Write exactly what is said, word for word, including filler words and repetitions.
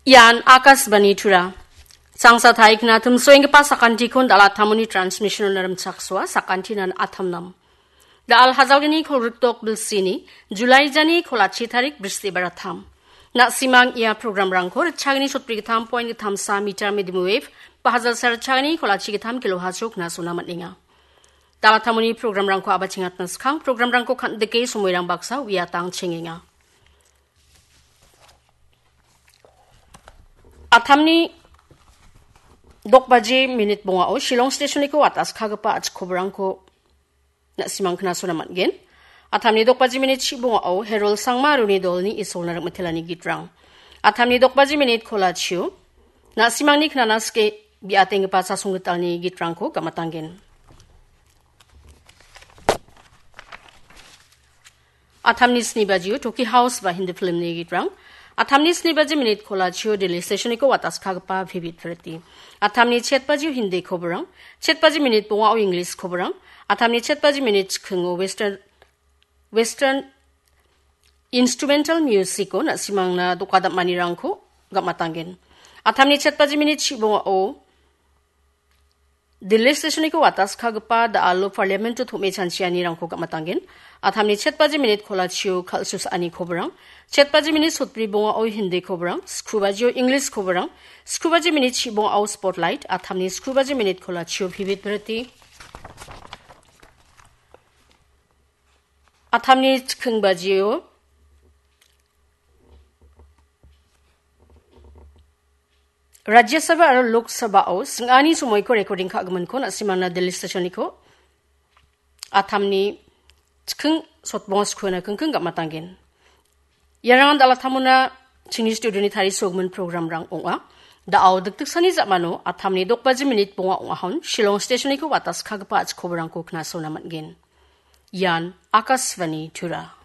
Ian Akashvani Tura. Sangsa taikna timsoenggipa sakantikon dal·a attamoni transmission-ona rimchaksoa, sakantinan atamnam. Dal hajalgni kolrikdok bilsini, July jani kolachi tarik bristibar atam. Na·simang ia programrangko ritchagni sotbrigittam point gittamsa meter medium wave, ba hajalsa ritchagni kolachi gittam kilohertz-o knasona man·enga. Dal attamoni programrangko abachengatna skang programrangko kan·dike somoirang baksa uiatang chengenga. Atamni dok baji minit bongao Shillong stationiko wataskagipa achikkobrangko na·simang knasona man·gen. Atamni dok baji minit chibongao Herol Sangma aroni dolni isolna rim·itelani gitrang. Atamni dok baji minit kolachio na·simangni knana sike biatenggipa chasonggitalni gitrangko gam·atanggen. Atamni sni bajio Toki House ba Hindi filmni gitrang. Atamni sni baji minit kolachio Delhi stationiko wataskagipa Vivid Bharati. Atamni chet bajio Hindi koborang, chet baji minit bongao English koborang, atamni chet baji minit chikingo Western, Western instrumental musico na·simangna dokadam·anirangko gam·atanggen. Atamni chet baji minit chibongao Delhi stationiko wataskagipa da·alo parliamento tom·e chanchianirangko gam·atanggen. Atamni chet baji minit kolachio kal·susaani koborang, chet baji minit sotbri bongao Hindi koborang, skru bajio English koborang, skru baji minit chibongao Spotlight, atamni skru baji minit kolachio Vivid Bharati. Atamni chiking bajio Rajya Sabha aro Lok Sabha-o sing·ani somoiko recording ka·giminko na·simangna Delhi stationiko atamni chiking sotbonga skuena kingking gam·atanggen. Iarangan dal attamona chingni studioni tarisogimin programrang ong·a. Da·o dikdiksani ja·mano atamni dok baji minit bonga ong·ahon Shillong stationiko wataskagipa achikkobrangko knasona man·gen. Ian Akashvani Tura.